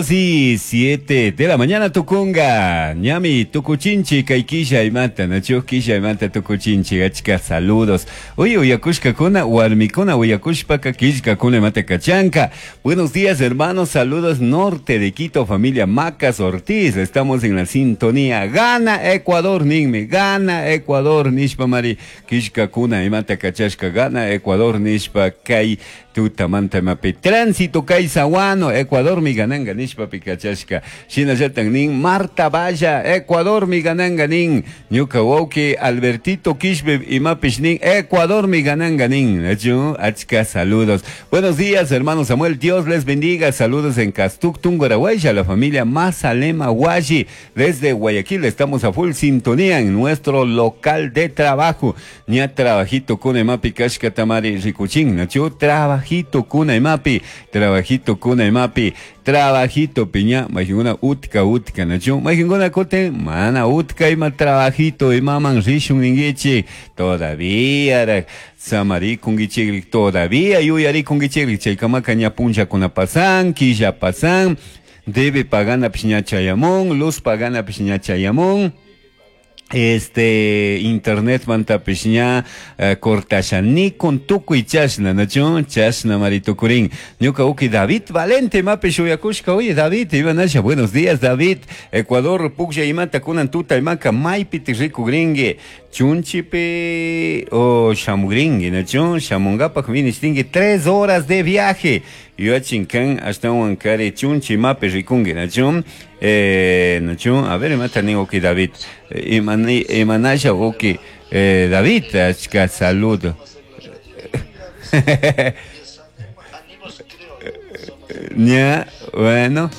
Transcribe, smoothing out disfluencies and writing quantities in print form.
Y 7 de la mañana tukunga. Ñami tukuchinchi kay killaymanta, nachu killaymanta tukuchinchi achka saludos. Oye, uyakushkakuna, warmikuna uyakushpaka killkakuna imata kachanka. Buenos días, hermanos, saludos norte de Quito, familia Macas Ortiz. Estamos en la sintonía. Gana Ecuador, ninmi. Gana Ecuador, nishpa mari killkakuna imata kachashka. Gana Ecuador, nishpa kay tutamanta imapi. Tránsito kay Saguano, Ecuador mi gananga nishpa pikachashka. Shinallatan nin Marta Valla, Ecuador mi gananga nin. Ñuka wawki Albertito Quispe imapish nin Ecuador mi gananga nin. Achu, achka saludos. Buenos días, hermano Samuel. Dios les bendiga. Saludos en Castuc, Tungurahua, la familia Mazalema Huashi. Desde Guayaquil estamos a full sintonía en nuestro local de trabajo. Ña trabajito kuna imapi kashka tamari rikuchin. Nachu, trabajito kuna imapi, trabajito kuna imapi, trabajito piña, majinguna utka utka, nachu, majinguna kote, mana utka ima trabajito imaman rishun ninguichi, todavía ra, samarikunguichigri, todavía yuyarikunguichigri, chaykamaka ña punllakuna pasan, quilla pasan, debe pagana piña chayamón, luz pagana piña chayamón. Este internet mantapish ña cortasha nikun tukuy chashna nachu chashna maritukurin ñuka uki David Valente mapish uyakushka. Oye David, imanasha, buenos días David. Ecuador puklla imata kunan tuta imaka maypi rikugringi chunchipi o shamugringi nachu shamungapak vinishtingi 3 horas de viaje yuyachin kan ashtawan kari chunchi mapi rikungi nachu nachu a ver imata nin uki David imanasha uki David achka saludo. Ña, bueno.